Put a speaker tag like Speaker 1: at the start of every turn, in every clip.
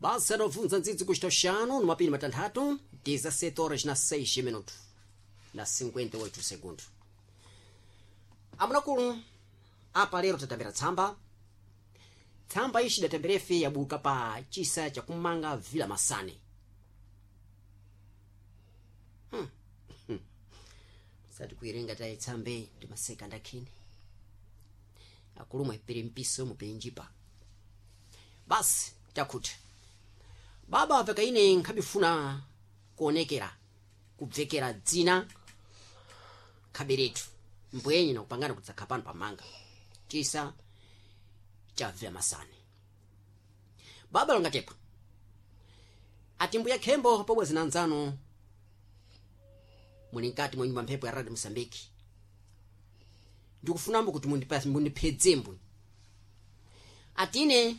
Speaker 1: Basi adobvunza ndzidzi kuchita xanu no mapiri matanthatu, 17 horas na 6 minutos na 58 segundo. Amunakulu, apa lero tatambira tsamba. Tsamba ixi datambirefe yabuka pa chisa chakumanga Vila Masane. Sati kuirenga tayi tsambe ndimaseka ndakhini. Akulu mwepere mpiso mupenjipa. Basi takhuti. Baba apeka ine nkhabifuna kuonekera, kubvekera dzina khaberetu. Mbwenye nakupangana kudzakha pano pamanga. Chisa cha Vila Masane. Baba longatepa. Ati mbuya khembo pobwezi na nzano muli mkati mwa nyumba mphepo ya Radio Mosambiki. Ndikufunambo kuti mundiphedze mbwe. Atine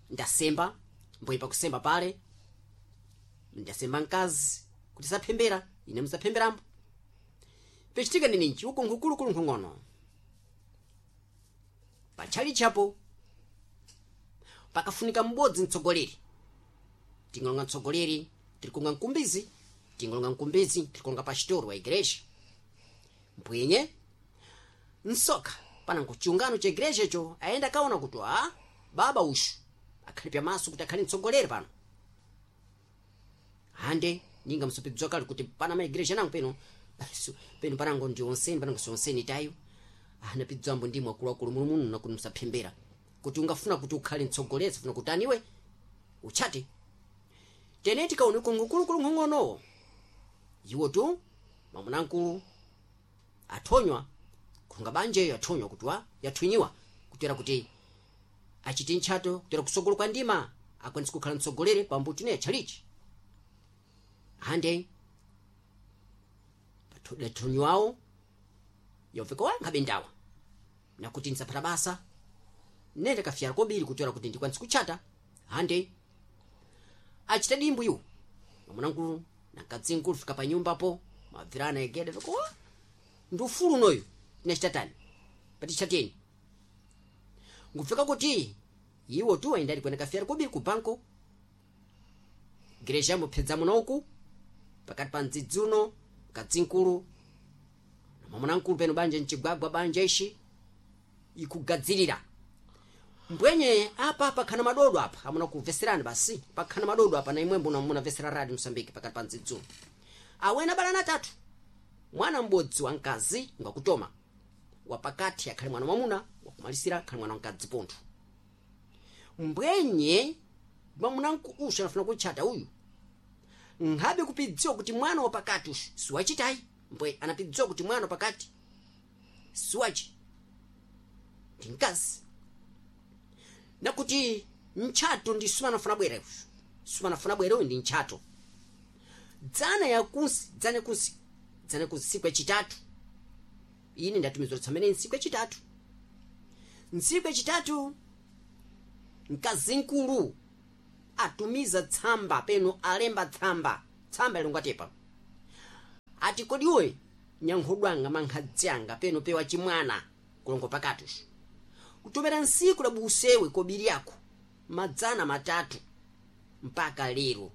Speaker 1: ndasemba, mbwe pakusemba pale. Ndasemba mkazi kuti saphembera, ine musaphemberambo. Pechitika ndi ninji uko nkukulukulu nkhong'ono. Patchali chapo pakafunika m'bodzi mtsogoleri. Tingolonga mtsogoleri, tirikunga mkumbizi, tingolonga mkumbizi, tirikunga pastor wa igreja. Mbwenye nsoka pana nkuchiungano cha igreja icho ayenda kaona kuti a baba ushu akhali pyamaso kuti akhali mtsogoleri pano. Hande ninga msopedzwa kale kuti pana maigreja nango peno peno panango ndi onseni panango sionseni tayo. Anapidzwambo ndimwe akuluakulu mulumuno nakuti musaphembera. Kuti ungafuna kuti ukhale mtsogoleri sifuna kuti aniwe uchate. Tene tikaone kungukulukulu nkhong'onowo. Iwo tu mwamunankulu athonywa kunga banjeyo athonywa kuti wa yathwinyiwa kutera kuti achite ntchato kutera kusogolo kwa ndima akwanise kukhala mtsogoleri pambuti ne tchalichi. Hande dathonywawo yoveka wa nkhabe ndawa nakuti ndisapata basa nende kafyala kobiri kutera kuti ndikwanise kutchata. Hande achita dimbu iwo mwamunankulu na mkadzinkulu fika pa nyumbapo mabvirana egede veko wa ndi ufulu unoyu tinachitatani patichateni ngupfeka kuti iwo tu ayendali kuenda kafyala kobiri ku banko gereja mupedza munoku pakati pa mdzidzi uno mkadzinkulu na mwamunankulu peno banja mchigwagwa banja ishi ikugadzirira. Mbwenye apa pakhana madodo apa amuna kumveserani basi pakhana madodo apa na imwe mbuna munamvesera Radio Mosambiki pakati pa mdzidzi uno. Awena abalana atatu, mwana m'bodzi wa mkazi ngwakutoma, wapakati akhali mwana mwamuna, wakumalisira akhali mwana wamkazi pontho. Mbwenye mwamunanku ushu anafuna kutchata uyu nkhabe kupidziwa kuti mwana wapakati ushu siwachitayi. Mbwe anapidziwa kuti mwana wapakati siwachi ndi mkazi nakuti ntchato ndi simanafuna bwera ushu simanafuna bwera uyu ndi ntchato. Dzana yakunsi dzana yakunsi dzana yakunsi ntsiku yachitatu ine ndatumizwa tsamene ntsiku yachitatu ntsiku yachitatu mkazinkulu atumiza tsamba peno alemba tsamba tsamba ilongatepa ati kodi iwe nyankhodwanga mankhadzi anga peno pewa chimwana kulongo pakati ushu kutomera nsiku la busewe kobiri yako madzana matatu mpaka lero.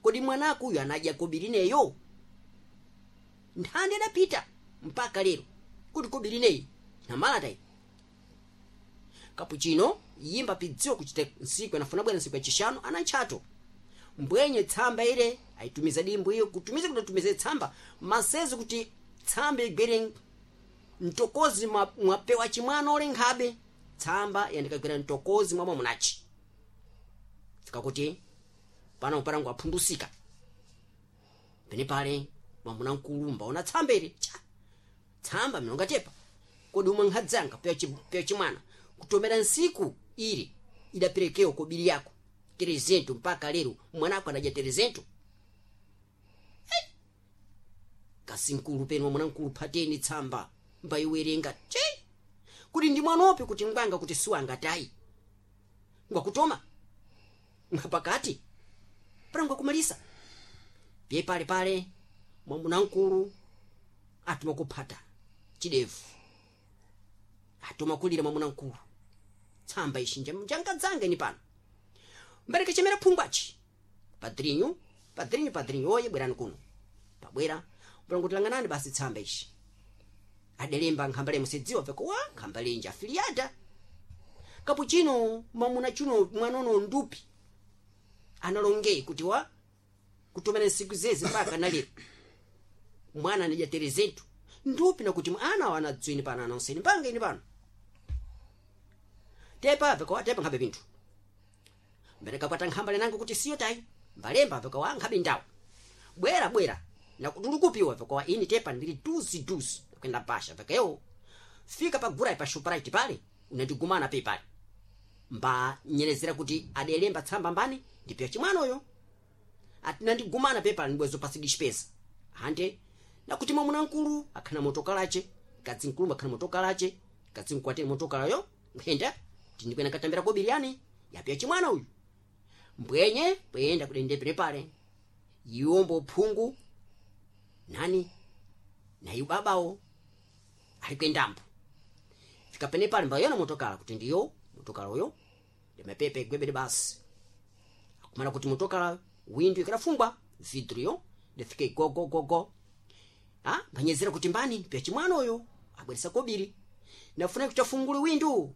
Speaker 1: Kodi mwanako uyu anadya kobiri neyo? Nthandi adapita mpaka lero kuti kobiri neyi namalatayi. Kapuchino yimba pidziwa kuchita nsiku anafuna bwera nsiku yachishanu ana ntchato. Mbwenye tsamba ile aitumiza dimbu iyo kutumiza kuti atumize tsamba masezo kuti tsamba igwere mtokozi mwapewa chimwana ole nkhabe tsamba yandikagwera mtokozi mwa mwamunachi. Fika kuti pano parangu aphundusika. Pene pale mwamunankulu mbaona tsamba ile cha tsamba milongatepa kodi umwe nkhadzanga pewa chimwana kutomera nsiku ili idaperekewa kobiri yako terezento mpaka lero mwanako anadya terezento. Hey! Kasinkulu peno mwanankulu phateni tsamba mbayiwerenga che kuti ndi mwanope kuti ngwanga kuti siwanga tayi ngwakutoma ngapakati pana ngwakumalisa pye pale pale mwamunankulu atuma kuphata chidevu atuma kulira mwamunankulu tsamba ishi njangadzanga ni pano. Mbereke chemera phungwachi padrinyu padrinyu padrinyu oye bwerani kuno pabwera mbulangotilanganani basi tsamba ishi adelemba nkhambale musedziwa veko wa nkhambale inji afiliata kapuchino mwamuna chuno mwanono ndupi analonge kuti wa kutumana nsiku zezi mpaka nalero mwana anadya terezetu ndupi nakuti ana wanadzwini pano anonseni mpanga ini pano tepa veko tepa nkhabe pinthu mbereka kwata nkhambale nango kuti siyo tayi mbalemba veko wa nkhabe ndawo bwera bwera nakutulukupiwa veko wa ini tepa ndili duzi duzi kwenda pasha vekeyo fika pa gura pa shoprite pale unandigumana pe pale mba nyerezera kuti adelemba tsamba mbani ndipiya chimwanoyo atinandigumana pe pale ndibwezo pasidishipeza ande nakuti mwamuna mkulu akhana motokalache kadzi mkulu akhana motokalache kadzi mkwatire motokalayo nkhenda tindikwena katambira kobiriani yapiya chimwana uyu mbwenye bweyenda kudendepere pale iwombo phungu nani nayu babawo ali kwendambo fika pene pale mbayona motokala kuti ndiyo motokala uyo ndimapepe gwebere basi akumana kuti motokala windu ikadafungwa vidriyo ndifike gogogogo ah mbanyezera kuti mbani pya chimwana uyo abweresa kobiri nafuna kuti afungule windu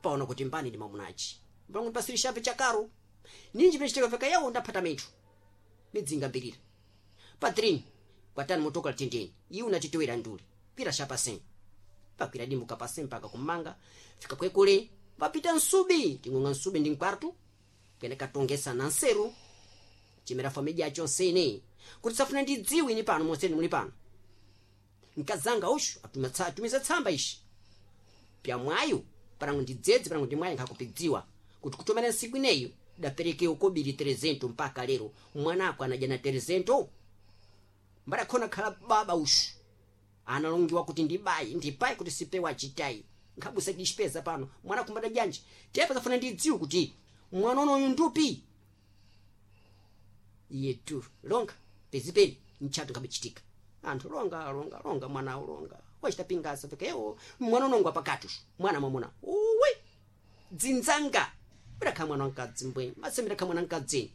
Speaker 1: paona kuti mbani ndi mamunachi mbangu ndipasirishape chakaro ninji pechiteka veka yawo ndaphata mithu midzinga mbirira patrini kwatani motokala tendeni iwe unatitowera nduli kwira shapaseni pakwira dimbu kapaseni mpaka kumanga fika kwekule papita nsubi ting'ong'a nsubi ndi nkwartu kene katongesa na nseru chimera família yacho nsene kuti safuna ndidziwe ini pano monseni muli pano nkazanga ushu atumiza tsamba ishi pyamwayo parangu ndidzedze parangu ndimwayi nkhakupidziwa kuti kutomera nsiku ineyo daperekewo kobiri 300 mpaka lero mwanako anadya na 300 mbadakhona khala baba ushu analongiwa kuti ndibayi ndipayi kuti sipewa achitayi nkhabusa dishipeza pano mwana kumbada janji tepa safuna ndidziwe kuti mwana unoyu ndupi iye tu longa pezipeni mchato nkhabichitika anthu longa longa longa mwanawo longa wachita pingasa fekewo mwana unongwa pakati ushu mwana mwamuna uwe dzinzanga bidakhala mwana wamkadzi mbwe masembedakhala mwana mkadzini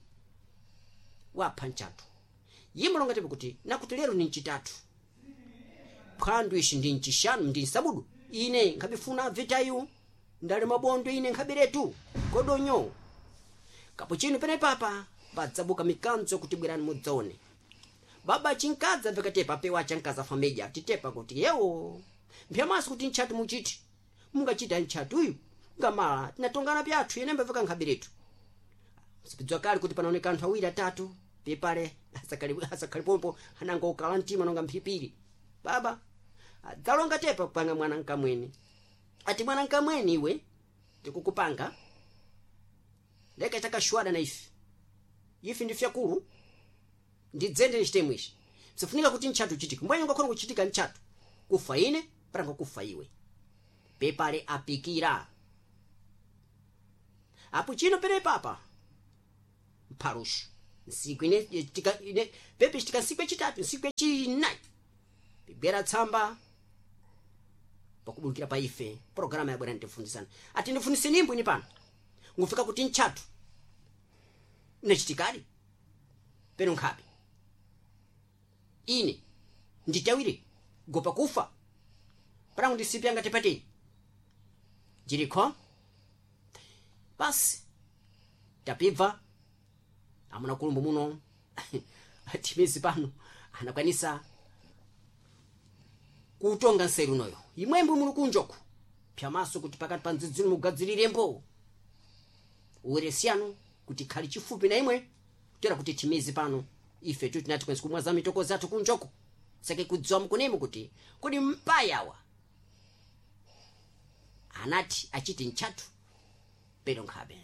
Speaker 1: wapha mchato yimwe longa tepe kuti nakuti lero ni mchitatu phwandu ishi ndi mchishanu ndi msabudu ine nkhabifuna vitayu ndali mabondo ine nkhabiretu kodonyo kapo chinu pene papa padzabuka mikanzo kuti bwerani mudzaone baba chinkadza vekatepa pewa chankaza fameja titepa kuti yewo mphyamaso kuti ntchatu muchiti mungachita ntchatuyu ngamala tinatongana pyathu yenemba veka nkhabiretu sipidzwa kale kuti panaoneka anthu awiri atatu pepale asakhali pompo ananga ukala mtima nonga mphipiri baba adzalonga tepa kupanga mwana nkamweni ati mwana nkamweni iwe ndikukupanga leka chakashwada na ife ife ndi fyakulu ndidzende nichitemwe ichi sifunika kuti ntchatu uchitike mbwenye ungakhona kuchitika ntchatu kufa ine paranga kufa iwe pepale apikira apo chino pene papa mphalushu nsiku ine tika ine pepe chitika nsiku yachitatu nsiku yachinayi pibwera tsamba pakubulukira pa ife programa yabwera nditifundisana ati ndifundise nimbo ini pano ngufika kuti ntchatu inachitikadi peno nkhabe ine nditawire gopa kufa parangu ndisipyanga tipateni jirikho basi tapibva amuna kulumbu muno timezi pano anakwanisa kutonga nseru unoyo imwembe muli kunjoku pyamaso kuti pakati pa ndzidzino mugadziriремbo uweresiyano kuti khali chifupi na imwe kutera kuti timizi pano ife tu tinati kwenzi kumwaza mitoko zathu kunjoko sake kudziwa mkunemo kuti kodi mpayawa anati achiti ntchatu pero nkhabe.